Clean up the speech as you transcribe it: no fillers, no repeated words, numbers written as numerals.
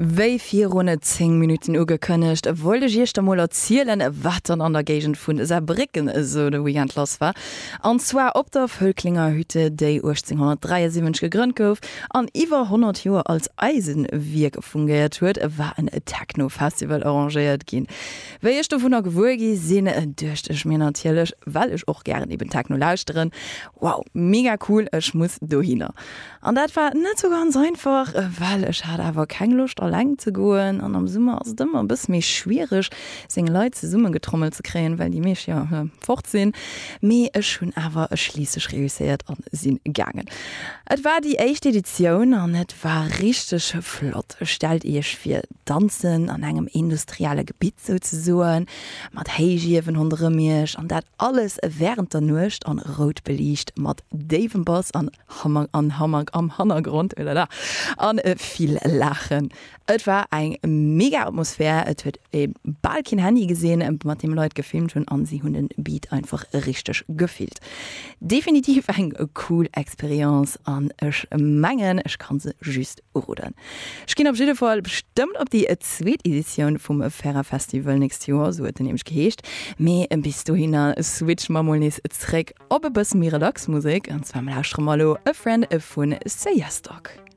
Wéi virun 10 Minutten ugekënnegt, wollt ech iech da mol erzielen, wat dann an der Géigend vun Saarbrécken esou de Weekend lass war. An zwar op der Völklinger Hütte, déi 1873 gegrënnt gouf an iwwer 100 Joer als Eisenwierk fungéiert huet, war en Techno-Festival arrangéiert ginn. Wéi ech dovunner gewuer gi sinn, duecht ech mir natierlech, well ech och gären eben Techno lauschteren, Wow, mega cool, ech muss dohinner. An dat war net sou ganz einfach, well ech hat awer keng Loscht alleng ze goen an am Summer ass et ëmmer e bësse méi schwiereg seng Leit zesummegetrommelt ze kréien, well déi meescht jo fort sinn. Mee ech hunn awer schliisslech reusséiert an sinn gaangen. Et war déi éischt Editioun an et war richteg flott. Stellt iech vir, danzen an engem industrielle Gebitt souzesoen, mat Héichiewen ronderëm iech an dat alles wärend der Nuecht an rout beliicht mat déiwem Bass an Hammer an Hammer am Hannergrond, oulala, an vill Laachen. Et war eng mega Atmosphär, et huet ee bal keen Handy gesinn, mat deem Leit gefilmt hunn an si hunn den Beat einfach richteg gefillt. Definitiv eng cool Experience an ech mengen ech kann se just uroden. Ech ginn op jidde Fall bestëmmt op déi zweet Editioun vum Ferra Festival nächst Joer, sou huet en nämlech geheescht, mee bis dohinner switche mer mol nees zréck Op e bësse méi relax Musek, an zwar lauschtere mer elo A Friend vun Say Yes Dog.